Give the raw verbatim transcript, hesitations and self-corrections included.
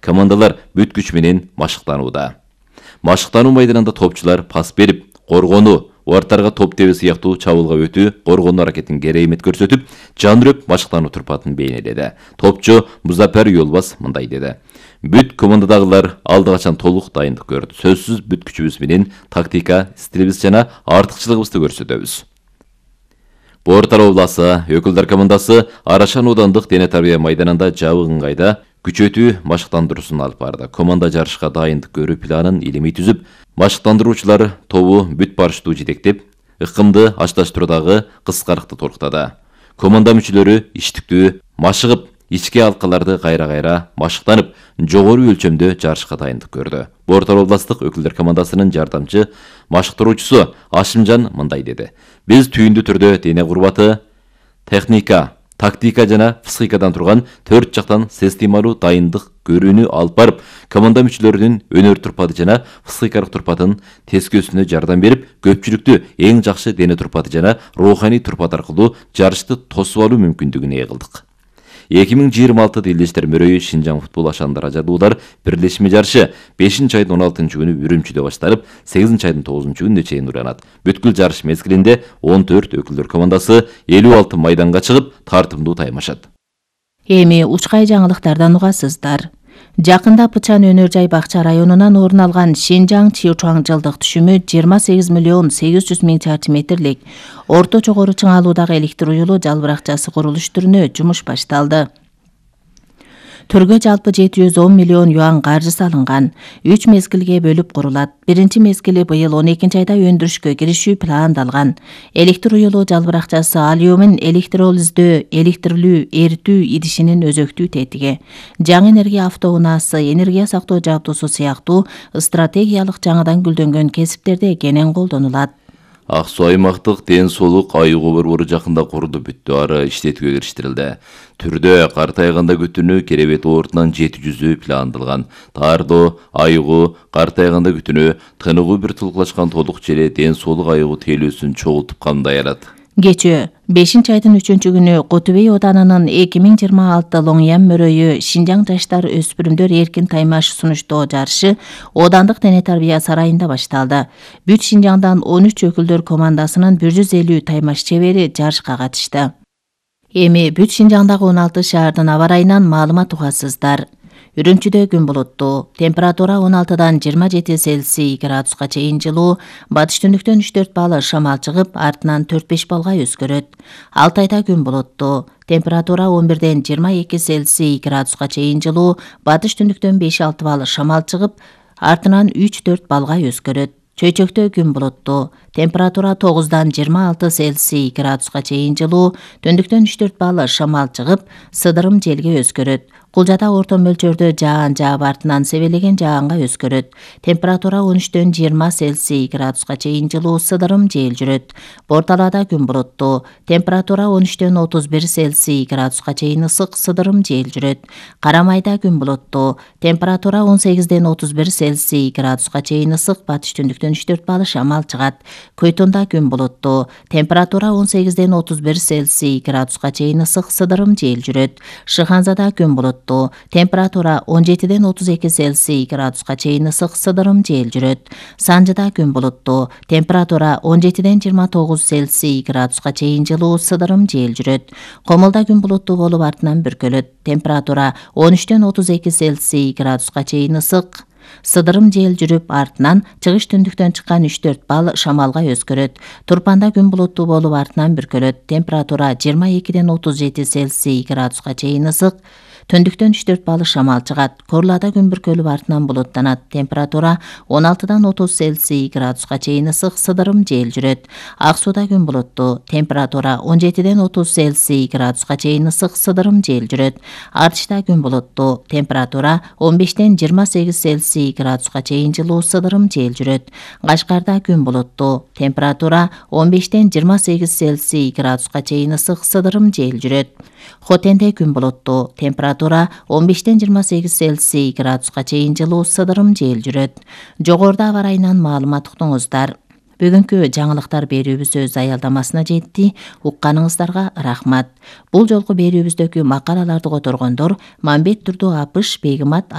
командалар бүт күч менен машыктанууда. Машыктануу майданында топчулар пас берип, коргонуу, ортарга топ тебе сыяктуу чабуулга өтүү, коргонуу аракетин керемет көрсөтүп, жандырып машыктануу турпатын бейнеледи. Топчу Музафар Юлбас мындай деди: Бүт командадагылар алды качан толук дайындык көрдү. Сөзсүз бүт күчүбүз менен тактика, стилибиз жана артыкчылыгыбызды көрсөтөбүз. Бортар обласы өкүлдөр командасы Арашан аудандык дене тарбия майданында жабык ыңгайда күчөтүү машыктандыруусун алып барды. Команда жарышка дайындык көрүү планын илимий түзүп, машыктандыруучулар тобу бүт барыштуу жетектеп, ыкымды ашташтыруудагы кыскарыкты толуктады. Команда мүчөлөрү иштиктүү машыгып, ички алкаларды кайра-кайра машыктанып, жогору өлчөмдө жарышка дайындык көрдү. Бортар областык өкүлдөр командасынын жардамчы машыктыруучусу Ашимжан мындай деди: Биз түйүндүү түрдө дене курбаты, техника, тактика жана психикадан турган төрт жактан системалуу дайындык көрүүнү алып барып, команда мүчөлөрүнүн өнөр турпаты жана психикалык турпатын тескөөсүнө жардам берип, көпчүлүктү эң жакшы дене турпаты жана руханий турпат аркылуу жарышты тосуп алуу мүмкүндүгүн ээ кылдык. эки миң жыйырма алты Делдештер мөрөйү Шинжаң футбол ашандыра жадуулар бирлешме жарышы бешинчи айдын он алтынчы күнү Үрүмчүдө башталып, сегизинчи айдын тогузунчу күнүнө чейин уланат. Бүткүл жарыш мезгилинде он төрт өкүлдөр командасы элүү алты майданга чыгып, тартымдуу таймашат. Эми учкай жаңылыктардан угасыздар. Жакында Пычан өнөр жай бакча районунан орун алган Шинжаң Чиучуаң жылдык түшүмү жыйырма сегиз миллион сегиз жүз миң чарчы метрлик орто жогору чыңалуудагы электр уюлу жалбыракчасы курулуш түрүнө жумуш башталды. Түргө жалпы жети жүз он миллион юан каржы салынган. үч мезгилге бөлүп курулат. Биринчи мезгили быйыл он экинчи айда өндүрүшкө киришүү пландалган. Электр уюлу жалбыракчасы алюмин электролиздөө, электрлүү, эритүү идишинин өзөктүү тетиги. Жаңы энергия автоунаасы, энергия сактоо жабдуусу сыяктуу стратегиялык жаңыдан гүлдөнгөн кесиптерде кенен колдонулат. Ак Суу аймактык ден соолук айыгуу борбору жакында курулду, бүттү, ары иштетүүгө кириштирилди. Түрдө картайганда күтүүнү керебет оортунан жети жүзү пландалган. Таардоо, айыгуу, картайганда күтүүнү, тыныгуу бир тулкулашкан толук желе ден соолук айыгуу тейлөөсүн чогултуп камдаялат. Кечээ бешинчи айдын үчүнчү күнү Котубей оданынын эки миң жыйырма алты Лоңян мөрөйү Шинжаң жаштар өспүрүмдөр эркин таймаш сунуштоо жарышы Оодандык дене тарбия сарайында башталды. Бүт Шинжаңдан он үч өкүлдөр командасынын бир жүз элүү таймаш чебери жарышка катышты. Эми бүт Шинжаңдагы он алты шаардын аба ырайынан маалымат угасыздар. Үрүмчүдө күн булуттуу, температура он алтыдан жыйырма жети Цельсий градуска чейин жылуу, батыш түндүктөн үч төрт балл шамал чыгып, артынан төрт беш баллга өзгөрөт. Алтайда күн булуттуу, температура он бирден жыйырма эки Цельсий градуска чейин жылуу, батыш түндүктөн беш алты балл шамал чыгып, артынан үч төрт баллга өзгөрөт. Чөйчөктө күн булуттуу, температура тогуздан жыйырма алты Цельсий градуска чейин жылуу, түндүктөн үч төрт балл шамал чыгып, сыдырым желге өзгөрөт. Кулжада орто мөлчөрдө жаан жаап артынан себелеген жаанга өзгөрөт. Температура он үчтөн жыйырма Цельсий градуска чейин жылуу, сыдырым жел жүрөт. Борталада күн булуттуу, температура он үчтөн отуз бир Цельсий градуска чейин ысык, сыдырым жел жүрөт. Карамайда күн булуттуу, температура он сегизден отуз бир Цельсий градуска чейин ысык, батыш түндүктөн үч төрт балл шамал чыгат. Көйтүндө күн булуттуу, температура он сегизден отуз бир Цельсий градуска чейин ысык, сыдырым жел жүрөт. Шыханзада күн булуттуу, температура он жетиден отуз эки Цельсий градуска чейин ысык, сыдырым жел жүрөт. Санжыда күн булуттуу, температура он жетиден жыйырма тогуз Цельсий градуска чейин жылуу, сыдырым жел жүрөт. Комулда күн булуттуу болуп артынан бүркөлөт. Температура он үчтөн отуз эки Цельсий градуска чейин ысык, сыдырым жел жүрүп, артынан чыгыш түндүктөн чыккан үч төрт балл шамалга өзгөрөт. Турпанда күн булуттуу болуп артынан бүркөлөт. Температура жыйырма экиден отуз жети Цельсий градуска чейин ысык, түндүктөн үч төрт балл шамал чыгат. Корлада күн бүркөлүп артынан булуттанат. Температура он алтыдан отуз Цельсий градуска чейин ысык, сыдырым жел жүрөт. Ак Сууда күн булуттуу, температура он жетиден отуз Цельсий градуска чейин ысык, сыдырым жел жүрөт. Артышта күн булуттуу, температура он бештен жыйырма сегиз Цельсий градуска чейин жылуу, сыдырым жел жүрөт. Кашкарда күн булуттуу, температура он бештен жыйырма сегиз Цельсий градуска чейин ысык, сыдырым жел жүрөт. Хотенде күн булуттуу, температура он бештен жыйырма сегиз Цельсий градуска чейин жылуу, сыдырым жел жүрөт. Жогоруда аба ырайынан маалымат уктуңуздар. Бүгүнкү жаңылыктар берүүбүз өз аялдамасына жетти. Укканыңыздарга рахмат. Бул жолку берүүбүздөгү макалаларды которгондор Мамбет Турду Апыш, Бегимат